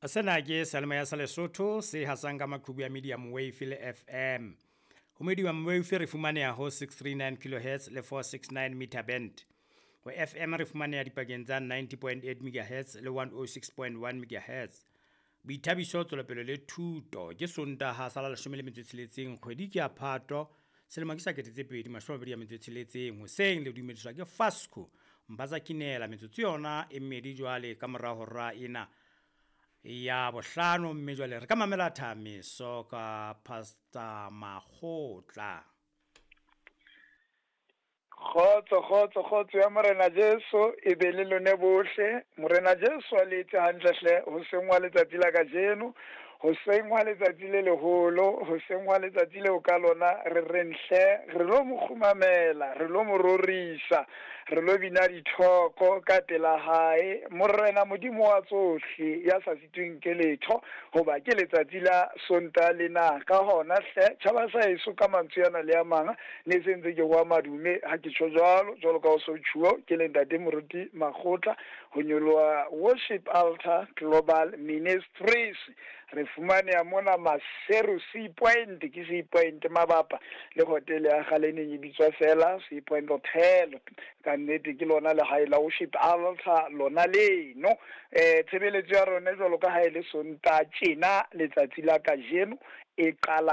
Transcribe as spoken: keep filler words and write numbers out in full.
Sena ke seyalemoya sa Lesotho se hasang ka maqhubu ya medium wave le F M. Ho medium wave re fumaneha ho six three nine kilohertz le four six nine meter band. Ho F M re fumaneha dipakeng tsa ninety point eight megahertz le one oh six point one megahertz. Boithabiso, tswelopele le thuto. Ke Sontaha sa la leshome le metso e tsheletseng, kgwedi ke ya Phato, selemo ke sa kete tse pedi mashome a mabedi a metso e tsheletseng. Hoseng le dumediswa ke Fasco Mpatsa Kinela. Metsotso yona e mmedi jwale ka mora hora ena ya bohlano, mme jwale re ka mamela thamiso ka Pastor Makgotla. Kgotso, kgotso, kgotso ya Morena Jesu e be le lone bohle. Morena Jesu a le etse hantle hle hoseng wa letsatsi la kajeno, hoseng wa letsatsi le leholo, hoseng wa letsatsi leo ka lona re reng hle re lo mo kgumamela, re lo mo rorisa, re lo bina dithoko ka pela hae, Morena Modimo wa tsohle ya sa sitweng ke letho, hoba ke letsatsi la Sontaha lena. Ka hona hle, tjhaba sa heso, ka mantswe ana le a mang ne se ntse ke wa madume ha ke tjho jwalo, jwalo ka ho so tjhuo ke le ntate Moruti Makgotla ho nyoloha Worship Altar Global Ministries. Re fumaneha mona Maseru, Sea Point, ke Sea Point mabapa le hotel ya kgale neng e bitswa fela Sea Point Hotel. Ka nnete ke lona lehae la Worship Altar lona leno. eh tshebeletso ya rona, jwalo ka ha e le Sontaha tjena, letsatsi la kajeno e qala